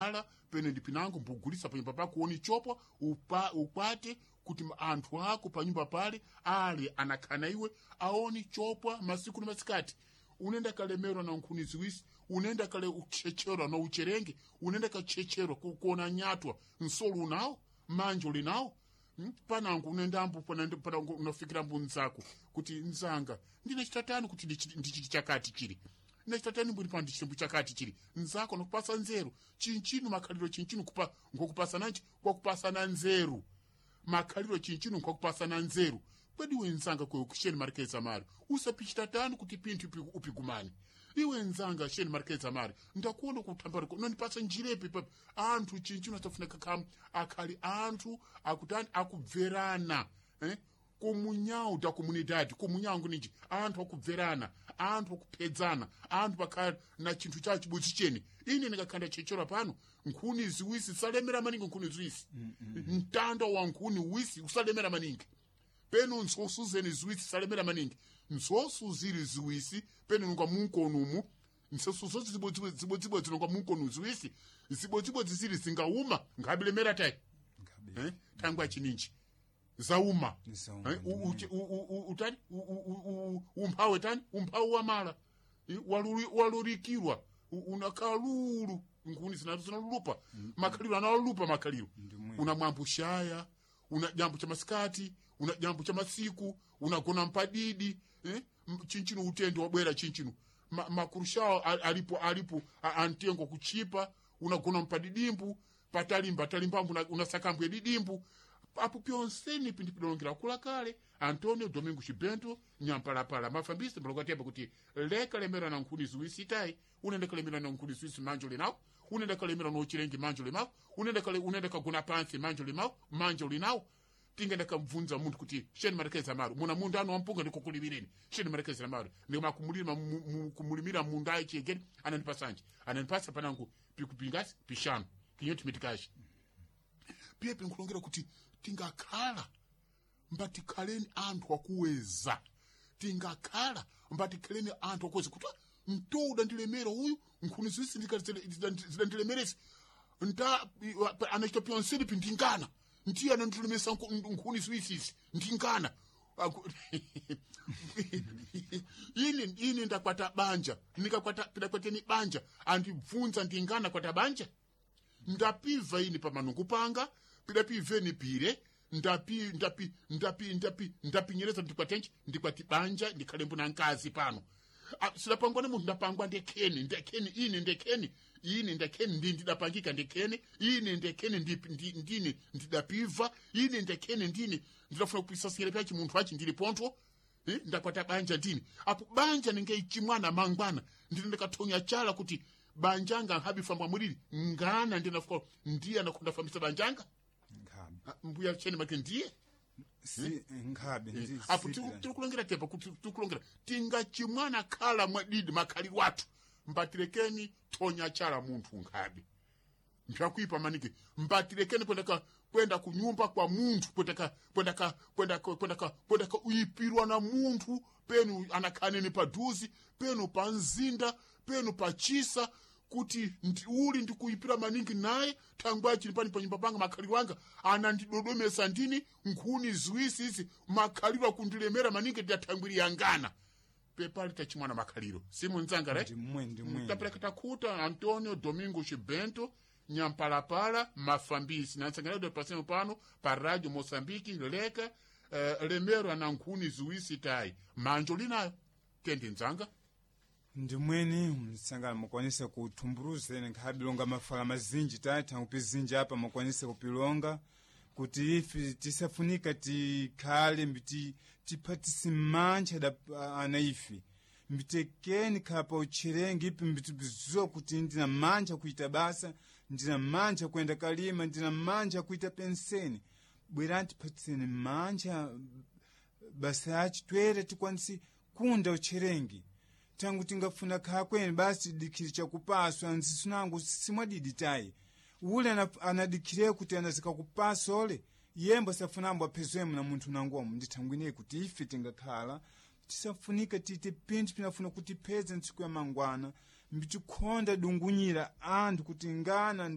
Ala pene ndi pinango mbugulisa panyumba pako uoni chopwa ukwate kuti anthu ako panyumba pale ale anakhana iwe aoni chopwa masiku ni masikati. Unenda kalemerwa na nkhuni ziwisi, unenda kale uchecherwa na ucherenge, unenda kachecherwa kuona nyatwa nsolo unawo manja ulinawo. Panango unendambo panango unafikira mbu nzako kuti nzanga ndine chitatani kuti ndichiti chakati chili nechitatani mbuli pano ndichitembo chakati chili nzako nokupasa nzeru chinchinu makhaliro chinchinu kupa ngokupasana nchi kwakupasana nzeru makhaliro chinchinu nkwakupasana nzeru kwedi iwe nzanga kwe kusheni marikeza mari usapichitatani kuti pinthu upigumane iwe nzanga sheni marikeza mari ndakuona kuthambariko nondipasa njirepi papi anthu chinchinu asafunika khamu akhali anthu akutani akubverana eh? Kumunyau da comunidade kumunyangu ninji anthu akubverana, anthu akuphedzana, anthu pakhala na chinthu chawo chibodzi chene. Ine ndikakhanda chechera pano nkhuni ziwisi salemera maningi nkhuni ziwisi. Mtanda wa nkhuni wisi usalemera maningi peno ntsosu zene ziwisi salemera maningi ntsosu zili ziwisi peno nunga munkonumu ntsosu zonse zibodzibodzi nunga munkonu ziwisi zibodzibodzi zili zingauma ngabilemera tayi. Ngabe. Eh? Thangwa chininji zauma. Zauma, Eh, utani umphawe tani umphawe wamala. Walurikirwa unakalulu nkhuni zinalulupa makhaliro analulupa makhaliro. Ndimwe. Una mwambushaya, una jambo cha masikati, una jambo cha masiku, unagona mpadidi eh? Chinchino utendo wabwera chinchino makurushawo alipo alipo antengo kuchipa unagona mpadidimbu patalimba talimbambu unasakambwe didimbu apo pyonseni pindipilongera kula kale Antonio Domingo Chibento nyampalapala mafambisi mbalongatemba kuti leka lemera na nkhuni ziwisi tayi unenda kalemera na nkhuni ziwisi manja ulinawo unenda kalemera na uchirengi manja ulinawo unenda kale unenda kagona pansi manja ulinawo manja ulinawo tingenda kamvunza munthu kuti sheni marekeza maru muna munda anu wampunga ndikukulimireni sheni marekeza maru ndikuma kumulimira munda ayi chegeni anandipasanje anandipasa panangu pikupingasi pishanu kinyoti mitikashi piye pinkulongera kuti tingakhala mbatikhaleni anthu akuweza tingakhala mbatikhaleni anthu akuweza kuti mtowu udandilemera uyu nkhuni ziwisi zidandilemeresi nta anachita pyonseni pindingana ndiye anandilemesa nkhuni ziwisisi ndingana. Ine ndakwata banja nikakwata pidakwateni banja andibvunza ndingana kwata banja ndapiva ini pamanungu panga pidapiveni pire ndapi ndapi ndapi ndapi ndapinyereza ndikwatenji ndikwati banja ndikhalembo na nkazi pano. Sidapangwa ni munthu ndapangwa ndekheni ndekheni ine ndekheni ine ndekheni ndi ndidapangika ndekheni ine ndekheni ndine ndidapiva ine ndekheni ndine ndidafuna kupisasira pyachi munthu achi ndili pontho. Ndakwata banja ndini apo banja ningeichimwana mangwana ndine ndikathonya chala kuti banjanga nhabifambwa mulili ngana ndinafuka ndiye anakundafambisa banjanga. Nkhabe. Mbuya chene make ndiye Si nkhabe apo tirikulongera tepa kuti tirikulongera tingachimwana khala mwadidi makhaliro athu mbatirekeni thonya chala munthu nkhabe mpyakuipa maniki mbatirekeni kwenda kwenda kunyumba kwa munthu kwenda ka uipirwa na munthu penu anakhaneni paduzi penu pa mzinda penu pa chisa kuti uli ndikuipira maningi naye thangwa chili pani panyumba panga makhaliro anga anandidodomesa ndini nkhuni ziwisi izi makhaliro akundilemera maningi ndidathangwiri yangana pepali tachimwana makhaliro simunzanga right. Ndimwe ndimwe. Tapeleka takhuta Antonio Domingo Chibento nyampalapala mafambisi nansangalado pasemo pano pa Radio Moçambique leka lemero na nkhuni ziwisi tayi manjo linayo tendi nzanga. Ndimweni msangano mukwanise kuthumbuluzeni nkhabilonga mafala mazinji tatha kupizinji apa mukwanise kupilonga kuti ife tisafunika tikhale mbiti tiphatise mantcha da ana ife mbitekeni khapa utcherengi ipi mbitibizuwa kuti ndina mantcha kuita basa ndina mantcha kuyenda kalima ndina mantcha kuita penseni bwerani tiphatiseni mantcha basa yachi twere tikwanise kunda utcherengi tangu tingafuna khakweni basi dikhiri chakupaswa nsisunangu simwadidi tayi ule anadikhire kuti anazikakupasa ole yembo safunambo aphezwemo na munthu nangomo ndithangwine kuti ife tingakhala tisafunika tite pinthu pinafuna kutipheza ntsiku ya mangwana mbitikhonda dungunyira anthu kuti ngana.